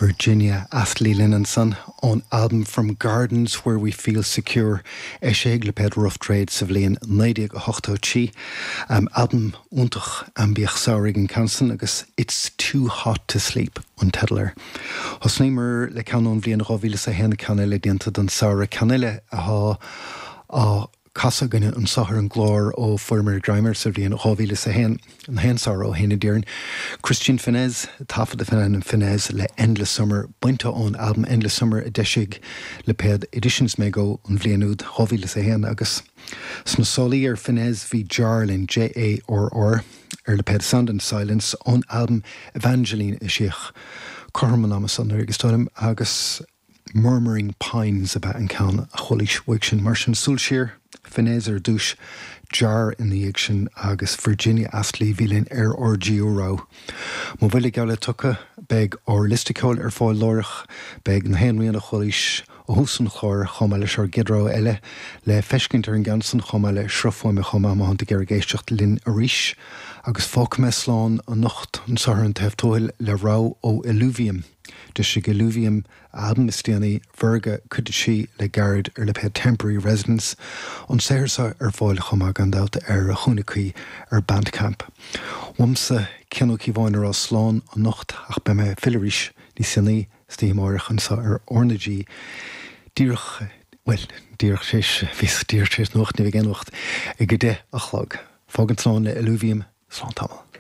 Virginia Astley linn ansan ón albam From Gardens Where We Feel Secure, eisithe ag lipéad Rough Trade sa bhliain 1983. Albam iontach aimbiach samhraidh an ceann san agus It's Too Hot To Sleep an teideal air. Thosnaíomar le ceann ón bhliain 2001, ceann eile déanta don samhradh, ceann eile atá á casadh againne anso ar an gclár ó fuaireamar greim air sa bhliain 2001, an t-aon samhradh ó shin a déarfainn. Christian Fennesz, taifeadta faoin ainm Fennesz le Endless Summer, bainte ón albam Endless Summer a d'eisigh lipéad Editions Mego an bhliain úd, 2001, agus sna sálaí ar Fennesz bhí Jarr linn, J-A-R-R, ar lipéad Sound and Silence ón albam Evangeline a eisíodh cothrom an ama san, anuraidh is dóigh liom, agus. Murmuring Pines ab ea an ceann a chualaís uaidh sin. Mar sin, súil siar, Fennesz ar dtús, Jarr ina dhiaidh sin agus Virginia Astley a bhí linn ar ár dtríú rogha. Mo bhuille geall le tugtha, beidh ár liosta ceoil ar fáil láithreach, beidh na haon rian a chualaís ó thús an chláir chomh maith leis ár gcéad rogha eile le feiscint ar an gceann san chomh maith le sruth fuaime chomh maith má thánn tú ag iarraidh éisteacht linn arís. Agus fágfaidh mé slán anocht anso ar an taobh tuathail le rogha ó Illuvium. D'eisigh Illuvium a albam is déanaí, Virga, Cuid 3, le gairid ar lipéad Temporary Residence, an saothar seo ar fáil chomh maith gan dabht ar a chúinne cuí ar Bandcamp. Uaimse, Cian Ó Cíobháin a rá slán anocht ach beidh mé ag filleadh arís níos déanaí san oíche amáireach anseo ar R na G díreach, bhuel, díreach tar éis, bhíos díreach tar éis nuacht, ní bheidh aon nuacht ag a 10 a chlog. Fágaint slán le Illuvium, slán tamall.